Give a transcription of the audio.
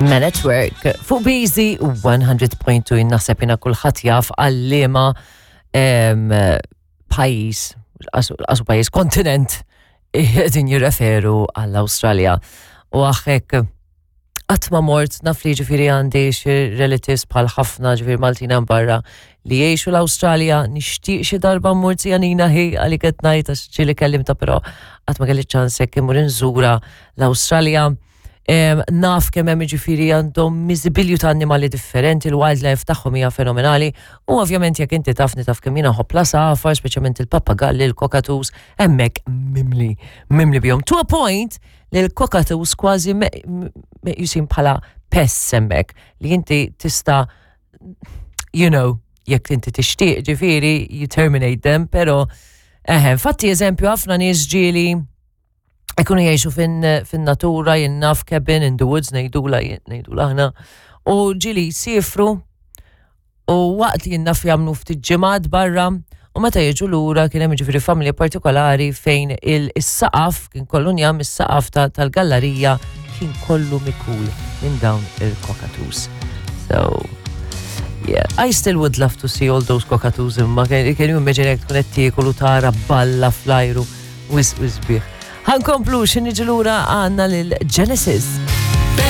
Men at Work fuq BZ 100.2 naħseb jina kulħadd jaf għal-liema pajjiż, qasu pajjiż kontinent qegħdin jirreferu għall-Awstralja. U għaxek qatt ma mort naf li ġifieri għandi xi relatives bħal ħafna ġifieri Maltin hemm barra li jgħixu l-Awstralja, nixtieq xi darba mmur Janina hi għalik qed ngħid għax ġieli kellimta però qatt ma kelli ċans hekk immur inżura l-Awstralja. Naf kemm hemm ġifieri għandhom miżibilju ta' annimali differenti, il-wildlife tagħhom hija fenomenali u ovvjament jekk inti tafni taf kemm jiena nħobb l-għasafar, speċjalment il-pappagalli, il-cockatoos, hemmhekk mimli, mimli bihom. To a point li l-cockatoos kważi meqjusin bħala pests hemmhekk li inti tista' you know, jekk inti tixtieq ġifieri you terminate them, pero eħe, infatti eżempju ħafna nies ġieli ikunu jgħixu fin-natura, jien naf cabin in the woods ngħidula ngħidula aħna, u ġieli jsifru u waqt li jien naf jagħmlu ftit ġimgħat barra u meta jiġu lura kien hemm ġifieri familja partikolari fejn il-saqaf kien kollu njam is-saqaf tal-gallarija kien kollu mikul minn dawn il-cockatoos. So, yeah, I still would love to see all those cockatoos imma can you imagine jekk tkun qed tiekol u tara balla fl-ajru wisq sbieħ. Ħankomplu xi niġu lura għandna lil Genesis.